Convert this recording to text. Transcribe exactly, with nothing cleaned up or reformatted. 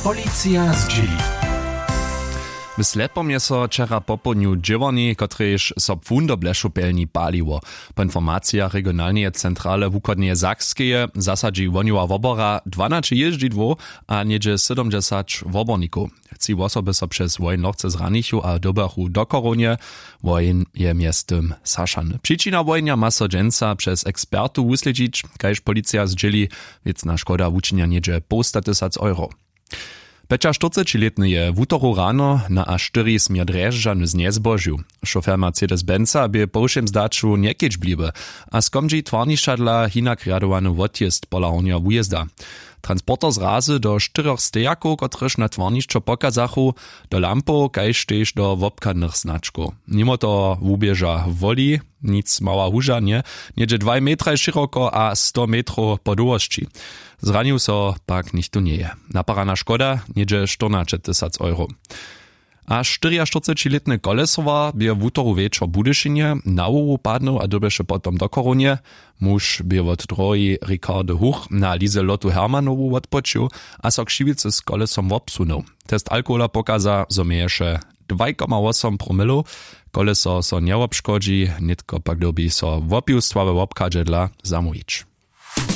Policija zdźěli. W Slepom je so wčera popołdnju dźěłarni, kotrež so płón do blešopjelni paliło. Po informacijach regionalneje centrale wuchodneje Sakskeje zasadźi wohnjowa wobora dwanaće jězdźidłow a něhdźe sydomdźesać wobornikow. Tři wosoby so přez wohenj lochce zranichu a dyrbjachu do chorownje. Wohenj je mjeztym sašany. Přičina wohenja ma so dźensa přez ekspertow wuslědźić, kaž policija zdźěli. Wěcna škoda wučinja něhdźe połstatysac euro. Pjećaštyrcećilětny je wutoru rano na a štyri směr drježdźany znjezbožił. Šofer mercedes benza bě po wšěm zdaću njekedźbliwy a skomdźi twarnišćadla hinak rjadowany wotjězd pola hornjeho wujězda. Transporter zrazy do štyrjoch stejakow, kotrež na twarnišćo pokazachu, do lampow kaž tež do wobchadnych značkow. Nimo toho wuběža woli, nic mała huža nje, něhdźe dwaj metraj šěroko a sto metrow po dołhosći. Zranił so pak nichtó njeje. Naparana škoda něhdźe štyrnaćetysac euro. A štyriaštyrcećilětny kolesowar bě wutoru wječor w budyšinje na hłowu padnył a dyrbješe potom do chorownje. Muž bě wot drohi ricardy huch na lize lotu hermanowu wotpočił a so křiwicy z kolesom wobsunył. Test alkohola pokaza, zo měješe dwaj koma wosom promilow. Koleso so njewobškodźi, nětko pak dyrbi so wopiwstwa we wobchadźe dla zamołwić.